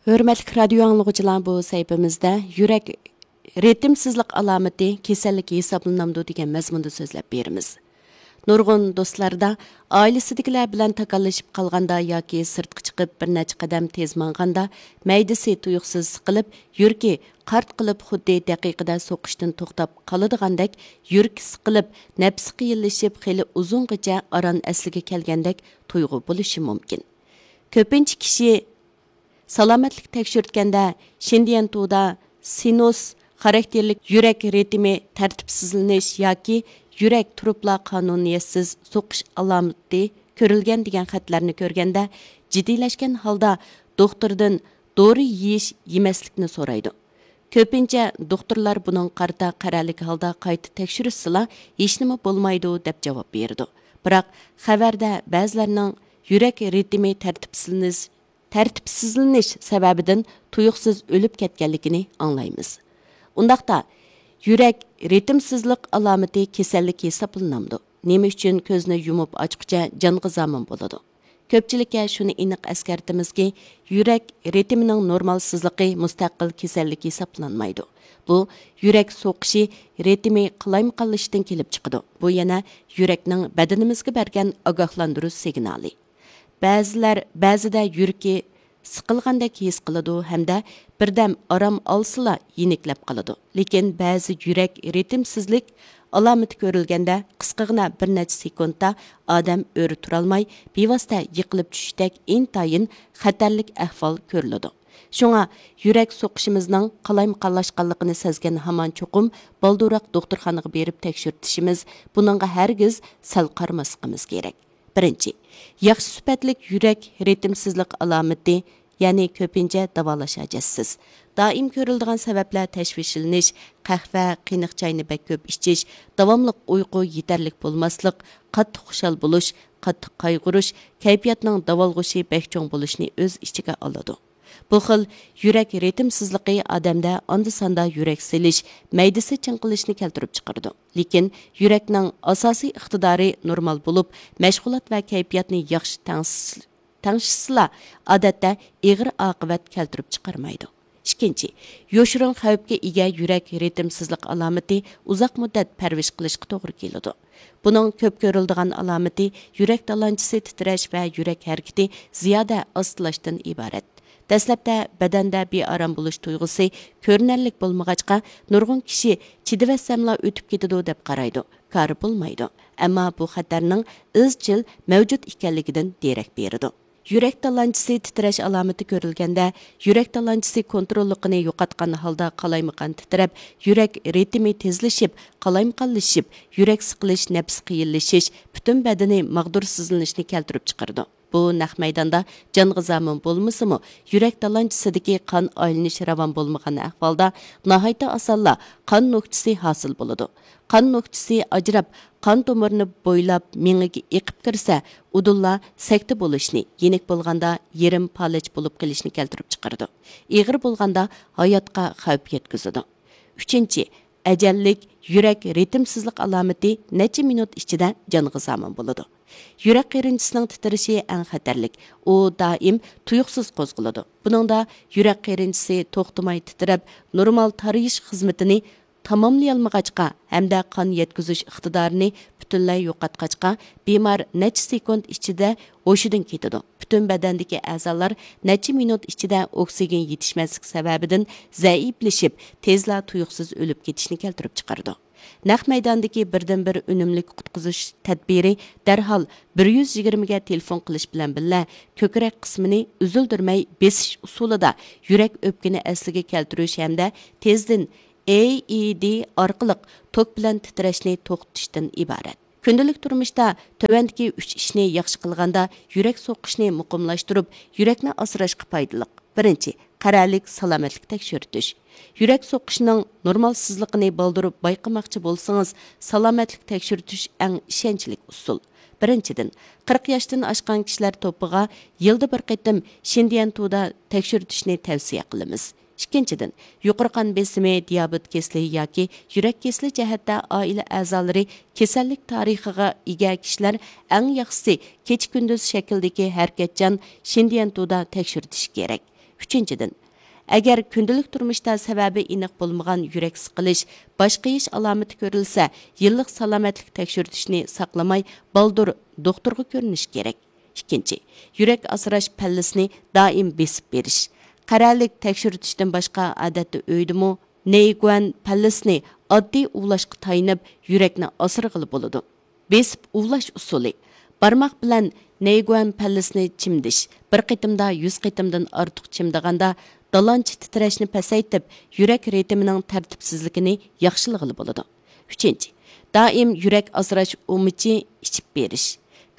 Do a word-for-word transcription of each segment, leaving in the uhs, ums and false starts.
ھۆرمەتلىك رادىيو ئاڭلىغۇچىلار، بۇ سەھىپىمىزدە يۈرەك رىتىمسىزلىق ئالامىتى كېسەللىك ھېسابلىنامدۇ دېگەن مەزمۇندا سۆزلەپ بېرىمىز. نۇرغۇن دوستلاردا ئائىلىسىدىكىلەر بىلەن تاكاللىشىپ قالغاندا ياكى سىرتقا چىقىپ بىر نەچچە قەدەم تېز ماڭغاندا مەيدىسى تۇيۇقسىز سىقىلىپ، يۈرىكى قارت قىلىپ خۇددى دەقىقىدە سوقۇشتىن توختاپ قالىدىغاندەك، يۈرىكى سىقىلىپ، نەپىسى قىيىنلىشىپ، خېلى ئۇزۇنغىچە ئاران ئەسلىگە كەلگەندەك تۇيغۇ بولۇشى مۇمكىن. كۆپىنچە كىشى سالامەتلىك تەكشۈرتكەندە شىندىيەنتۇدا سىنۇس خاراكتېرلىك يۈرەك رىتىمى تەرتىپسىزلىنىش ياكى يۈرەك تۇرۇپلا قانۇنىيەتسىز سوقۇش ئالامىتى كۆرۈلگەن دېگەن خەتلەرنى كۆرگەندە، جىددىيلەشكەن ھالدا دوختۇردىن دورا يېيىش، يېمەسلىكنى سورايدۇ. كۆپىنچە دوختۇرلار بۇنىڭغا قارىتا قەرەللىك ھالدا قايتا تەكشۈرۈشسىلا، ھېچنېمە بولمايدۇ، دەپ جاۋاب بېرىدۇ. بىراق، خەۋەردە بەزىلەرنىڭ يۈرەك رىتىمى تەرتىپسىزلىنىش، تەرتىپسىزلىنىش سەۋەبىدىن تۇيۇقسىز ئۆلۈپ كەتكەنلىكىنى ئاڭلايمىز. ئۇنداقتا، يۈرەك رىتىمسىزلىق ئالامىتى كېسەللىك ھېسابلىنامدۇ؟ نېمە ئۈچۈن كۆزنى يۇمۇپ ئاچقۇچە جانغا زامىن بولىدۇ؟ كۆپچىلىككە شۇنى ئېنىق ئەسكەرتىمىزكى، يۈرەك رىتىمىنىڭ نورمالسىزلىقى مۇستەقىل كېسەللىك ھېسابلانمايدۇ. بۇ يۈرەك سوقۇشى رىتىمى قالايمىقانلىشىشتىن كېلىپ چىقىدۇ. بۇ يەنە يۈرەكنىڭ بەدىنىمىزگە بەرگەن ئاگاھلاندۇرۇش سىگنالى. بەزىلەر بەزىدە يۈرىكى سىقىلغاندەك ھېس قىلىدۇ ھەمدە بىردەم ئارام ئالسىلا يېنىكلەپ قالىدۇ. لېكىن بەزى يۈرەك رىتىمسىزلىك ئالامىتى كۆرۈلگەندە قىسقىغىنا بىر نەچچە سېكۇنتتا ئادەم ئۆرە تۇرالماي، بىۋاسىتە يىقىلىپ چۈشۈشتەك ئىنتايىن خەتەرلىك ئەھۋال كۆرۈلىدۇ. شۇڭا يۈرەك سوقۇشىمىزنىڭ قالايمىقانلاشقانلىقىنى سەزگەن ھامان چوقۇم بالدۇرراق دوختۇرخانىغا بېرىپ تەكشۈرتۈشىمىز، بۇنىڭغا ھەرگىز سەل قارىماسلىقىمىز كېرەك. بىرىنچى، ياخشى سۈپەتلىك يۈرەك رىتىمسىزلىق ئالامىتى، يەنى كۆپىنچە داۋالاش ھاجەتسىز. دائىم كۆرۈلىدىغان سەۋەبلەر تەشۋىشلىنىش، قەھۋە، قېنىق چاينى بەك كۆپ ئىچىش، داۋاملىق ئۇيقۇ يېتەرلىك بولماسلىق، قاتتىق خۇشال بولۇش، قاتتىق قايغۇرۇش، كەيپىياتنىڭ داۋالغۇشى بەك چوڭ بولۇشنى ئۆز ئىچىگە ئالىدۇ. بۇ خىل يۈرەك رىتىمسىزلىقى ئادەمدە ئاندا-ساندا يۈرەك سېلىش، مەيدىسى چىڭقىلىشنى كەلتۈرۈپ چىقىرىدۇ. لېكىن يۈرەكنىڭ ئاساسىي ئىقتىدارى نورمال بولۇپ، مەشغۇلات ۋە كەيپىياتنى ياخشى تەڭشىش-، تەڭشىشسىلا، ئادەتتە ئېغىر ئاقىۋەت كەلتۈرۈپ چىقارمايدۇ. ئىككىنچى، يوشۇرۇن خەۋپكە ئىگە يۈرەك رىتىمسىزلىق ئالامىتى ئۇزاق مۇددەت پەرۋىش قىلىشقا توغرا كېلىدۇ. بۇنىڭ كۆپ كۆرۈلىدىغان ئالامىتى يۈرەك تالانچىسى تىترەش ۋە يۈرەك ھەرىكىتى زىيادە ئاستىلاشتىن ئىبارەت. دەسلەپتە بەدەندە بىئارام بولۇش تۇيغۇسى كۆرۈنەرلىك بولمىغاچقا، نۇرغۇن كىشى چىدىۋەتسەملا ئۆتۈپ كېتىدۇ دەپ قارايدۇ. كارى بولمايدۇ. ئەمما بۇ خەتەرنىڭ ئىزچىل مەۋجۇت ئىكەنلىكىدىن دېرەك بېرىدۇ. يۈرەك تالانچىسى تىترەش ئالامىتى كۆرۈلگەندە، يۈرەك تالانچىسى كونتروللۇقىنى يوقاتقان ھالدا قالايمىقان تىترەپ، يۈرەك رىتىمى تېزلىشىپ، قالايمىقانلىشىپ، يۈرەك سىقىلىش، نەپىس قىيىنلىشىش، پۈتۈن بەدىنى ماغدۇرسىزلىنىشنى كەلتۈرۈپ چىقىرىدۇ. بۇ نەق مەيداندا جانغا زامىن بولمىسىمۇ، يۈرەك تالانچىسىدىكى قان ئايلىنىش راۋان بولمىغان ئەھۋالدا ناھايىتى ئاسانلا قان نۆكچىسى ھاسىل بولىدۇ. قان نۆكچىسى ئاجراپ، قان تومۇرىنى بويلاپ مېڭىگە ئېقىپ كىرسە، ئۇدۇللا سەكتە بولۇشنى، يېنىك بولغاندا يېرىم پالەچ بولۇپ قېلىشنى كەلتۈرۈپ چىقىرىدۇ. ئېغىر بولغاندا ھاياتقا خەۋپ يەتكۈزىدۇ. ئۈچىنچى، ئەجەللىك يۈرەك رىتىمسىزلىق ئالامىتى نەچچە مىنۇت ئىچىدە جانغا زامىن بولىدۇ. يۈرەك قېرىنچىسىنىڭ تىترىشى ئەڭ خەتەرلىك. ئۇ دائىم تۇيۇقسىز قوزغىلىدۇ. بۇنىڭدا يۈرەك قېرىنچىسى توختىماي تىترەپ، نورمال تارىيىش خىزمىتىنى تاماملىيالمىغاچقا ھەمدە قان يەتكۈزۈش ئىقتىدارىنى پۈتۈنلەي يوقاتقاچقا، بىمار نەچچە سېكۇنت ئىچىدە ھوشىدىن كېتىدۇ. پۈتۈن بەدەندىكى ئەزالار نەچچە مىنۇت ئىچىدە ئوكسىگېن يېتىشمەسلىك سەۋەبىدىن زەئىپلىشىپ، تېزلا تۇيۇقسىز ئۆلۈپ كېتىشنى كەلتۈرۈپ چىقىرىدۇ. نەق مەيداندىكى بىردىنبىر ئۈنۈملۈك قۇتقۇزۇش تەدبىرى دەرھال بىر يۈز يىگىرمىگە تېلېفون قىلىش بىلەن بىللە، كۆكرەك قىسمىنى ئۈزۈلدۈرمەي بېسىش ئۇسۇلىدا يۈرەك ئۆپكىنى ئەسلىگە كەلتۈرۈش ھەمدە تېزدىن ئېئىدى ئارقىلىق توك بىلەن تىترەشنى توختىتىشتىن ئىبارەت. كۈندىلىك تۇرمۇشتا تۆۋەندىكى ئۈچ ئىشنى ياخشى قىلغاندا يۈرەك سوقۇشنى مۇقىملاشتۇرۇپ، يۈرەكنى ئاسراشقا پايدىلىق. بىرىنچى، قەرەللىك سالامەتلىك تەكشۈرتۈش. يۈرەك سوقۇشىنىڭ نورمالسىزلىقىنى بالدۇر بايقىماقچى بولسىڭىز، سالامەتلىك تەكشۈرتۈش ئەڭ ئىشەنچلىك ئۇسۇل. بىرىنچىدىن، قىرىق ياشتىن ئاشقان كىشىلەر توپىغا يىلدا بىر قېتىم شىندىيەنتۇدا تەكشۈرتۈشنى تەۋسىيە قىلىمىز. ئىككىنچىدىن، يۇقىرى قان بېسىمى، دىيابېت كېسىلى ياكى يۈرەك كېسىلى جەھەتتە ئائىلە ئەزالىرى كېسەللىك تارىخىغا ئىگە كىشىلەر ئەڭ ياخشىسى كېچە-كۈندۈز شەكلىدىكى ھەرىكەتچان شىندىيەنتۇدا تەكشۈرتۈشى كېرەك. ئۈچىنچىدىن، ئەگەر كۈندىلىك تۇرمۇشتا سەۋەبى ئېنىق بولمىغان يۈرەك سىقىلىش، باش قېيىش ئالامىتى كۆرۈلسە، يىللىق سالامەتلىك تەكشۈرتۈشنى ساقلىماي، بالدۇر دوختۇرغا كۆرۈنۈش كېرەك. ئىككىنچى، يۈرەك ئاسراش پەللىسىنى دائىم بېسىپ بېرىش. قەرەلىك تەكشۈرتۈشتىن باشقا، ئادەتتە ئۆيدىمۇ نېيگۇەن پەللىسىنى ئاددىي ئۇۋۇلاشقا تايىنىپ، يۈرەكنى ئاسرىغىلى بولىدۇ. بېسىپ ئۇۋۇلاش ئۇسۇلى. بارماق بىلەن نېيگۇەن پەللىسىنى چىمدىش. بىر قېتىمدا يۈز قېتىمدىن ئارتۇق چىمدىغاندا، دالانچا تىترەشنى پەسەيتىپ، يۈرەك رىتىمىنىڭ تەرتىپسىزلىكىنى ياخشىلىغىلى بولىدۇ. ئۈچىنچى، دائىم يۈرەك ئاسراش ئۇمىچى ئىچىپ بېرىش.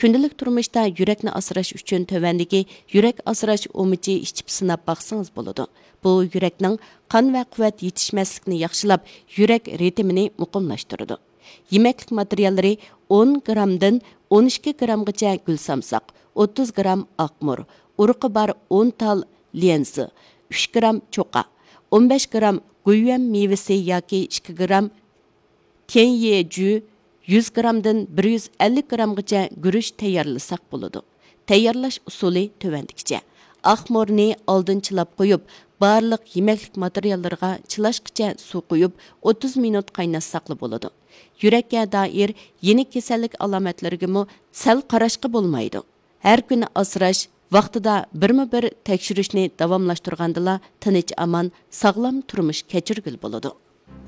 كۈندىلىك تۇرمۇشتا يۈرەكنى ئاسراش ئۈچۈن تۆۋەندىكى يۈرەك ئاسراش ئۇمىچى ئىچىپ سىناپ باقسىڭىز بولىدۇ. بۇ يۈرەكنىڭ قان ۋە قۇۋۋەت يېتىشمەسلىكىنى ياخشىلاپ، يۈرەك رىتىمىنى مۇقىملاشتۇرىدۇ. يېمەكلىك ماتېرىياللىرى: ئون گرامدىن ئون ئىككى گرامغىچە گۈل سامساق، ئوتتۇز گرام ئاقمۇر، ئۇرۇقى بار ئون تال ليەنزى، ئۈچ گرام چوقا، ئون بەش گرام گۇيۈەن مېۋىسى ياكى ئىككى گرام تيەنيېجۈ، يۈز گرامدىن بىر يۈز ئەللىك گرامغىچە گۈرۈچ تەييارلىساق بولىدۇ. تەييارلاش ئۇسۇلى تۆۋەندىكىچە. ئاقمۇرنى ئالدىن چىلاپ قويۇپ، بارلىق يېمەكلىك ماتېرىياللىرىغا چىلاشقىچە سۇ قۇيۇپ، ئوتتۇز مىنۇت قايناتساقلا بولىدۇ. يۈرەككە دائىر يېنىك كېسەللىك ئالامەتلىرىگىمۇ سەل قاراشقا بولمايدۇ. ھەر كۈنى ئاسراش، ۋاقتىدا بىرمۇ بىر تەكشۈرۈشنى داۋاملاشتۇرغاندىلا تىنچ ئامان، ساغلام تۇرمۇش كەچۈرگىلى بولىدۇ.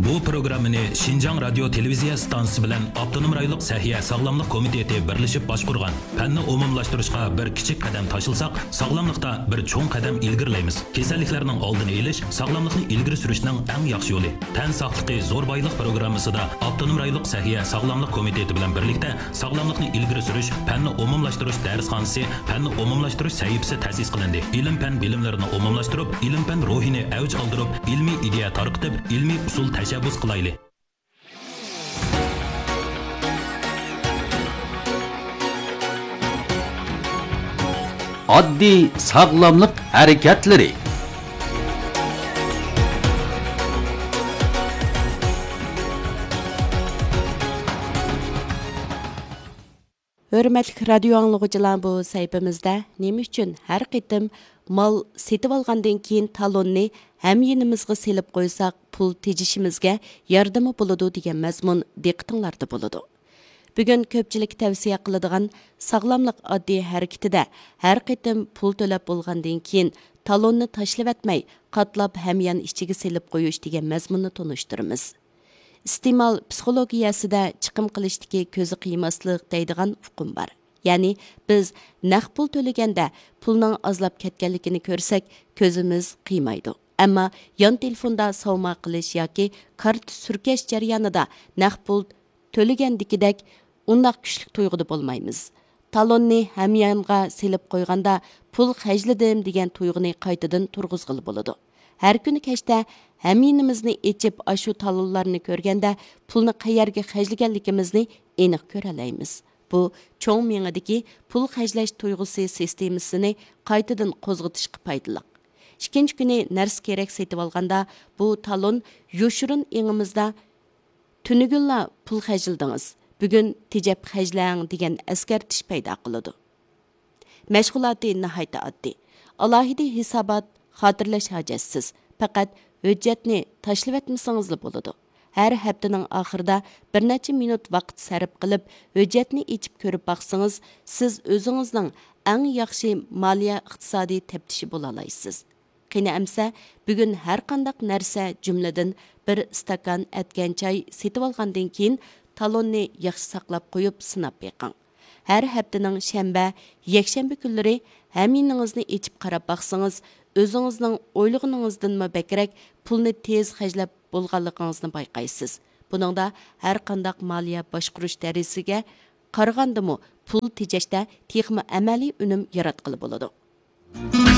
بۇ پروگراممىنى شىنجاڭ رادىيو تېلېۋىزىيە ئىستانسىسى بىلەن ئاپتونوم رايونلۇق سەھىيە ساغلاملىق كومىتېتى بىرلىشىپ باشقۇرغان. پەننى ئومۇملاشتۇرۇشقا بىر كىچىك قەدەم تاشلىساق، ساغلاملىقتا بىر چوڭ قەدەم ئىلگىرىلەيمىز. كېسەللىكلەرنىڭ ئالدىنى ئېلىش، ساغلاملىقنى ئىلگىرى سۈرۈشنىڭ ئەڭ ياخشى يولى. تەن ساقلىقى زور بايلىق پروگراممىسىدا ئاپتونوم رايونلۇق سەھىيە ساغلاملىق كومىتېتى بىلەن بىرلىكتە ساغلاملىقنى ئىلگىرى سۈرۈش، پەننى ئومۇملاشتۇرۇش دەرسخانىسى، پەننى ئومۇملاشتۇرۇش سەھىپىسى تەسىس قىلىندى. ئىلىم-پەن بىلىملىرىنى ئومۇملاشتۇرۇپ، ئىلىم-پەن روھىنى ئەۋج ئالدۇرۇپ، ئىلمىي ئىدىيە تارقىتىپ، ئىلمىي ئۇسۇل تەشەببۇس قىلايلى. ئاددىي ساغلاملىق ھەرىكەتلىرى. ھۆرمەتلىك رادىيو ئاڭلىغۇچىلار، بۇ سەھىپىمىزدە نېمە ئۈچۈن ھەر قېتىم مال سېتىۋالغاندىن كېيىن تالوننى ھەميىنىمىزغا سېلىپ قويساق، پۇل تېجىشىمىزگە ياردىمى بولىدۇ دېگەن مەزمۇن دىققىتىڭلاردا بولىدۇ. بۈگۈن كۆپچىلىككە تەۋسىيە قىلىدىغان ساغلاملىق ئاددىي ھەرىكىتىدە ھەر قېتىم پۇل تۆلەپ بولغاندىن كېيىن تالوننى تاشلىۋەتمەي، قاتلاپ ھەميان ئىچىگە سېلىپ قويۇش دېگەن مەزمۇننى تونۇشتۇرىمىز. ئىستېمال پسىخولوگىيەسىدە چىقىم قىلىشتىكى كۆزى قىيماسلىق دەيدىغان ئۇقۇم بار. يەنى بىز نەق پۇل تۆلىگەندە پۇلنىڭ ئازلاپ كەتكەنلىكىنى كۆرسەك، كۆزىمىز قىيمايدۇ. ئەمما يان تېلېفوندا ساۋما قىلىش ياكى كارتا سۈركەش جەريانىدا نەق پۇل تۆلىگەندىكىدەك ئۇنداق كۈچلۈك تۇيغۇدا بولمايمىز. تالوننى ھەميانغا سېلىپ قويغاندا، پۇل خەجلىدىم دېگەن تۇيغۇنى قايتىدىن تۇرغۇزغىلى بولىدۇ. ھەر كۈنى كەچتە ھەميىنىمىزنى ئېچىپ، ئاشۇ تالونلارنى كۆرگەندە، پۇلنى قەيەرگە خەجلىگەنلىكىمىزنى ئېنىق كۆرەلەيمىز. بۇ چوڭ مېڭىدىكى پۇل خەجلەش تۇيغۇسى سىستېمىسىنى قايتىدىن قوزغىتىشقا پايدىلىق. ئىككىنچى كۈنى نەرسە كېرەك سېتىۋالغاندا، بۇ تالون يوشۇرۇن ئېڭىمىزدا تۈنۈگۈنلا پۇل خەجلىدىڭىز، بۈگۈن تېجەپ خەجلەڭ دېگەن ئەسكەرتىش پەيدا قىلىدۇ. مەشغۇلاتى ناھايىتى ئاددىي. ئالاھىدە ھېسابات، خاتىرىلەش ھاجەتسىز. پەقەت ھۆججەتنى تاشلىۋەتمىسىڭىزلا بولىدۇ. ھەر ھەپتىنىڭ ئاخىرىدا بىر نەچچە مىنۇت ۋاقىت سەرپ قىلىپ، ھۆججەتنى ئېچىپ كۆرۈپ باقسىڭىز، سىز ئۆزىڭىزنىڭ ئەڭ ياخشى مالیيە ئىقتىسادىي تەپتىشى بولالايسىز. قېنى ئەمسە، بۈگۈن ھەرقانداق نەرسە، جۈملىدىن بىر ئىستاكان ئەتكەن چاي سېتىۋالغاندىن كېيىن، تالوننى ياخشى ساقلاپ قويۇپ سىناپ بېقىڭ. ھەر ھەپتىنىڭ شەنبە، يەكشەنبە كۈنلىرى ھەميىنىڭىزنى ئېچىپ قاراپ باقسىڭىز، ئۆزىڭىزنىڭ ئويلىغىنىڭىزدىنمۇ بەكرەك پۇلنى تېز خەجلەپ بولغانلىقىڭىزنى بايقايسىز. بۇنىڭدا ھەرقانداق مالىيە باشقۇرۇش دەرسىگە قارىغاندىمۇ پۇل تېجەشتە تېخىمۇ ئەمەلىي ئۈنۈم ياراتقىلى بولىدۇ.